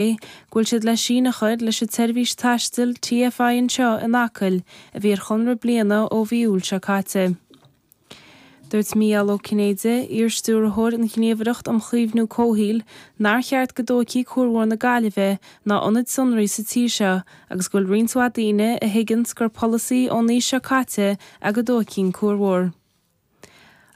Go bhfuil siad le síneadh a chur leis an tseirbhís taistil TFI anseo in Acaill a bhí ar chonradh bliana ó mhí Iúil seo caite. Dúirt Mícheál Ó Cinnéide, iar-stiúrthóir an Ghníomhaireacht um Chaomhnú Comhshaoil, nár cheart go dtógfaí Cuar Mhór na Gaillimhe ná ionaid sonraí sa tír seo agus go bhfuil roinnt mhaith daoine a thuigeanns gur polasaí ón aois seo caite é go dtógfaí an Cuar Mhór.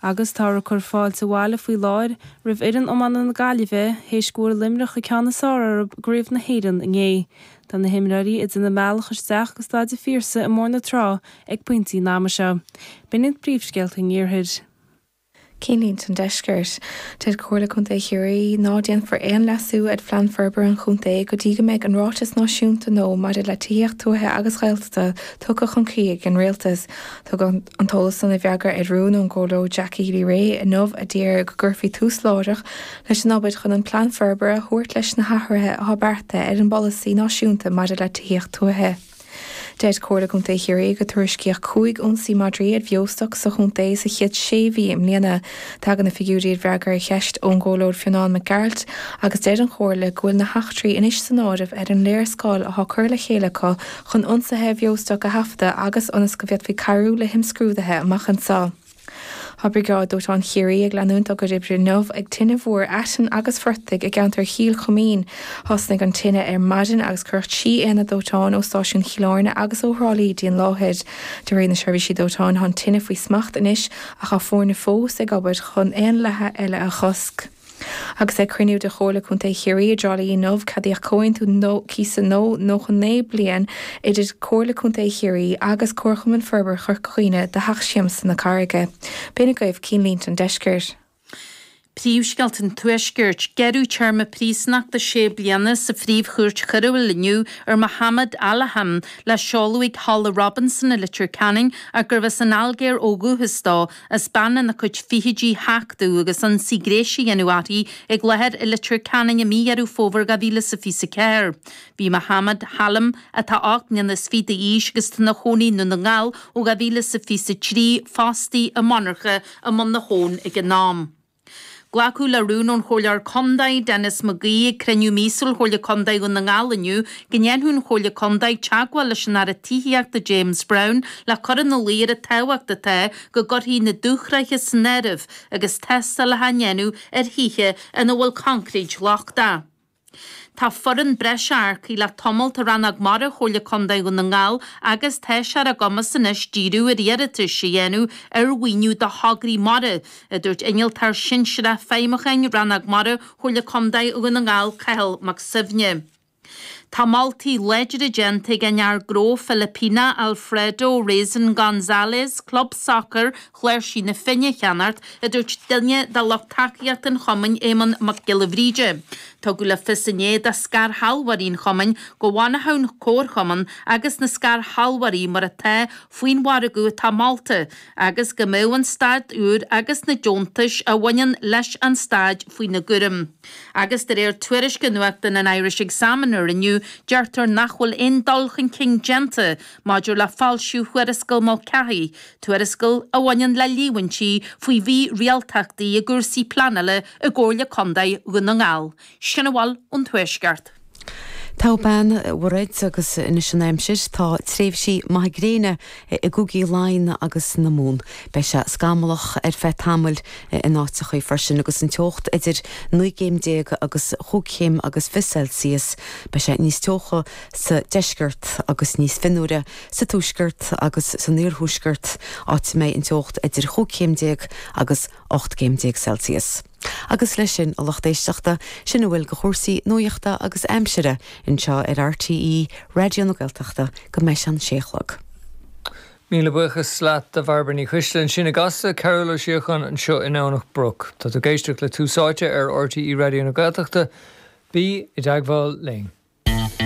Agus táthar ag cur fáilte abhaile faoi láthair roimh fhoireann iomána na Gaillimhe théis go bhfuair Luimneach an ceann is fearr orthu i gCraobh na hÉireann inné. Tá na himreoirí ag déanamh a mbealach isteach go Staid an Phiarsaigh i mBóthar na Trá ag pointí an ama seo. B'in iad príomhscéalta an Iarthair. Cinnlínte an Deiscirt. Deir Comhairle Contae Chiarraí ná déanfar aon leasú ar Phlean Forbartha an Chontae go dtí go mbeidh an Ráiteas Náisiúnta nua maidir le Tithíocht Tuaithe agus Ghaeltachta tugtha chun críche ag an Rialtas. Tugadh an t-eolas san i bhfreagra ar rún ón gComhairleoir Jackie Healy-Rae inniu a d'iarr go gcuirfí tús láithreach leis an obair chun an plean forbartha a thabhairt leis na hathruithe atá beartaithe ar an bpolasaí náisiúnta maidir le tithíocht tuaithe. Deir Comhairle Contae Chiarraí gur tuairiscíodh 5 ionsaí madraí ar bheostoc sa chontae sa chéad sé mhí i mbliana. Tagann na figiúirí i bhfreagra ar cheist ón gComhairleoir Fionán Mac Gearailt agus deir an Chomhairle go bhfuil na heachtraí anois san áireamh ar an léarscáil atá curtha le chéile acu chun ionsaithe ar bheostoc a thaifeadadh agus ionas go bhféadfaí cabhrú le himscrúduithe amach anseo. Tá Briogáid Dóiteáin Chiarraí ag leanúint dá gcuid oibre inniu ag tine mhór aiteann agus phortaigh i gceantar Chill Chuimín. Thosnaigh an tine ar maidin agus cuireadh 3 aonad dóiteáin ó stáisiún Chill Airne agus ó Thrá Lí dtí an láthair. De réir na seirbhísí dóiteáin tá an tine faoi smacht anois ach tá foirne fós ag obair chun aon leathadh eile a chosc. Agus ag cruinniú de Chomhairle Contae Chiarraí i dTrá Lí inniu, ceadaíodh comhaontú cíosa nua 99 bliain idir Comhairle Contae Chiarraí agus Comharchumann Forbartha Chorca Dhuibhne do Theach Siamsa na Carraige. B'in agaibh cinnlínte an deiscirt. Príomhscéalta an Tuaiscirt. Gearradh téarma príosúnachta sé bliana sa Phríomh-Chúirt Choiriúil inniu ar Mohammed Alaham le seoladh ag Halla Robinson i Leitir Ceanainn ach gurbh as an Ailgéir ó dhúchas dó as bean ina cuid fichidí a thachtadh agus ionsaí gnéis a dhéanamh uirthi ag láthair i Leitir Ceanainn i mí Dheireadh Fómhair 2024. Bhí Mohammed Halim, atá 28 mbliana d'aois agus atá ina chónaí i nDún na nGall ó 2023, fostaí i monarcha i mBun na hAbhann ag an am. Glacadh le rún ón Chomhairleoir Contae, Denis McGee, ag cruinniú míosúil Chomhairle Contae Dhún na nGall inniu go ndéanfadh an Chomhairle Contae teagmháil leis an Aire Tithíochta James Browne le cur ina luí ar an tábhacht atá go gcuirfí na dúshraithe san áireamh agus tástálacha á ndéanamh ar thithe ina bhfuil coincréit lochtach. Tá foireann breise earcaithe le tamalt i Rannóg Mara Chomhairle Contae Dhún na nGall agus tá sé ar a gcumas anois díriú ar iarratais a dhéanamh ar mhaoiniú do thograí mara, a dúirt Innealtóir Sinsearach Feidhmiúcháin Rannóg Mara Chomhairle Contae Dhún na nGall, Cathal Mac Suibhne. Tá moltaí láidre déanta ag an fhear gnó Filipíneach Alfredo Raisin Gonzalez club sacair Chláirsigh na Finne a cheannacht, a dúirt duine de lucht tacaíochta an chumainn, Éamonn Mac Giolla Bhríde. Tugadh le fios inné do scairshealbhóirí an chumainn go bhfanfadh an comharchumann agus na scairshealbhóirí mar atá faoin mhargadh atá molta agus go mbeadh an staid úr agus na deontais a bhaineann leis an staid faoina gcúram. Agus de réir tuairisce nuachtáin an Irish Examiner inniu deirtear nach bhfuil aon dul chun cinn déanta maidir le foilsiú Thuarascáil Mulcahy, tuarascáil a bhaineann le líomhaintí faoi mhírialtachtaí i gcúrsaí pleanála i gComhairle Contae Dhún na nGall. Sin a bhfuil ón Tuaisceart. Togha bean, a Mhairéad, agus anois an aimsir. Tá tréimhsí maithe gréine i gcúigí Laighean agus na Mumhan. Beidh sé scamallach ar feadh tamaill in áiteachaí freisin agus an teocht idir 19 gcéim agus chúig chéim agus 20 Celsius. Beidh sé níos teocha sa deisceart agus níos fionnuaire sa tuaisceart agus san iarthuaisceart, áit a mbeidh an teocht idir chúig chéim déag agus 18 gcéim Celsius. Agus leis sin, a lucht éisteachta, sin a bhfuil de chúrsaí nuachta agus aimsire anseo ar RTÉ Raidió na Gaeltachta go mbeidh sé an sé a chlog. Míle buíochas leat a Bhairbre Ní Choisdealbha ansin i gCasla, Cearbhall Ó Síocháin anseo i nDomhnach Broc. Tá tú ag éisteacht le Tús Áite ar RTÉ Raidió na Gaeltachta. Bí i dteagmháil linn.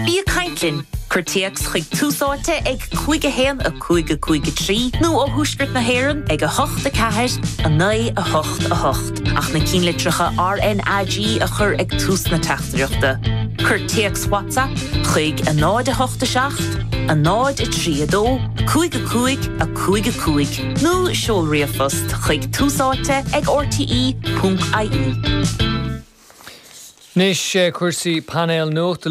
Bí ag caint linn! Cuir téacs chuig Tús Áite ag 5 1 5 5 3 nó ó thuaisceart na hÉireann ag 8 4 9 8 8 ach na cinnlitreacha RnaG a chur ag tús na teachtaireachta. Cuir téacs WhatsApp chuig 0 8 7 0 3 2 5 5 5 5 nó seol ríomhphost chuig túsáite ag rte.ie. Anois cúrsaí painéal nuachta.